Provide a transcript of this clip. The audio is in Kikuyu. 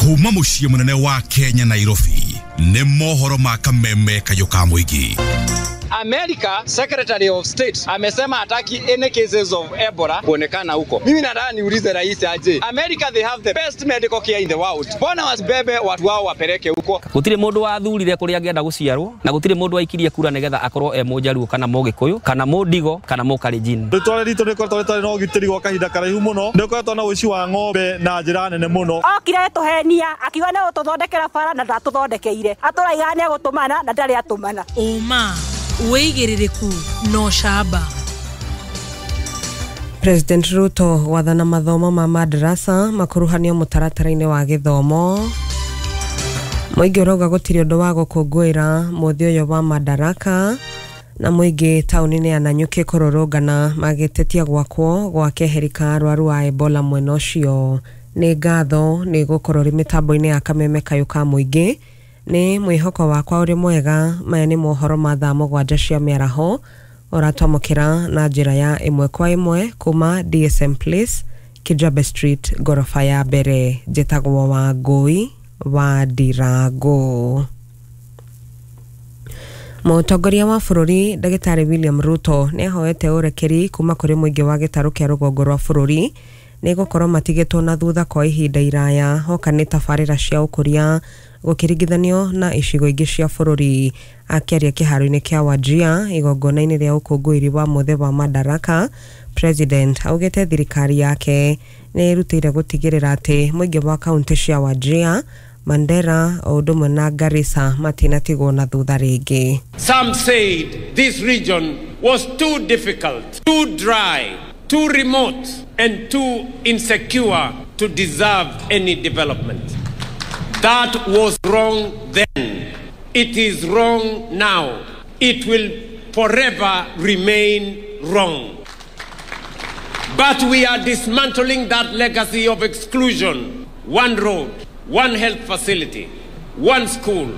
Kuma mũciĩ mũnene wa Kenya, Nairobi, nĩ mohoro ma kameme kayũ ka mũingĩ. America Secretary of State amesema hataki any cases of Ebola kuonekana huko. Mimi nataka niulize rais aje. America, they have the best medical care in the world. Mbona wasibebe watu wao wapeleke huko? Gũtirĩ mũndũ wathurire kũrĩa angĩenda gũciarwo, na gũtirĩ mũndũ waikirie kura nĩgetha akorwo e mũjaruo kana mũgĩkũyũ kana mũndigo kana mũkalenjin. Rĩtwa ritũ rĩkoretwo rĩtarĩ na ũgitĩri gwa kahinda karaihu mũno. Nĩ ũkoretwo na ũici wa ng'ombe na njĩra nene mũno. Okire tũhenia akiuga nĩ gũtũthondekera bara na ndatũthondekeire. Atũraiga nĩ egũtũmana na ndarĩ atũmana. Ũma, wĩigĩrĩrĩku na ũcamba. President Ruto gwathana mathomo ma madrasa makuruhanio mũtaratara-inĩ wa gĩthomo. Mũingĩ ũrauga gũtirĩ ũndũ wa gũkũngũĩra mũthĩ ũyũ wa Madaraka, na mũingĩ taũni-inĩ ya Nanyuki kũrũrũngana magĩtetia gwakwo gwa keheri ka arwaru a Ebola mwena ũcio. Nĩ ngatho nĩ gũkorwo rĩ mĩtambo-inĩ ya kameme kayũ ka mũingĩ. Nĩ mwĩhoko wakwa ũrĩ mwega. Maya nĩ mohoro ma thaa 7 cia mĩaraho ũratwamũkĩra na njĩra ya ĩmwe kwa ĩmwe kuma DSM Place, Kijabe Street, ngoroba ya mbere. Njĩtagwo Wangũi wa Ndirango. Mũtongoria wa bũrũri Ndagĩtarĩ William Ruto nĩ ahoete ũrekeri kuma kũrĩ mũingĩ wa gĩtarũ kĩa rũgongo rwa bũrũri nĩ gũkorwo matigĩtwo na thutha kwa ihinda iraya hoka nĩ tabarĩra cia ũkũria gũkĩringithanio na icigo ingĩ cia bũrũri. Akĩaria kĩharo-inĩ kĩa Wajir igongona-inĩ rĩa ũkũngũĩri wa mũthĩ wa Madaraka, President augĩte thirikari yake nĩ ĩrutĩire gũtigĩrĩra atĩ mũingĩ wa kaunti cia Wajir, Mandera o ũndũ ũmwe na Garissa matinatigwo na thutha rĩngĩ. Some said this region was too difficult, too dry, too remote and too insecure to deserve any development. That was wrong then. It is wrong now. It will forever remain wrong. But we are dismantling that legacy of exclusion. One road, one health facility, one school,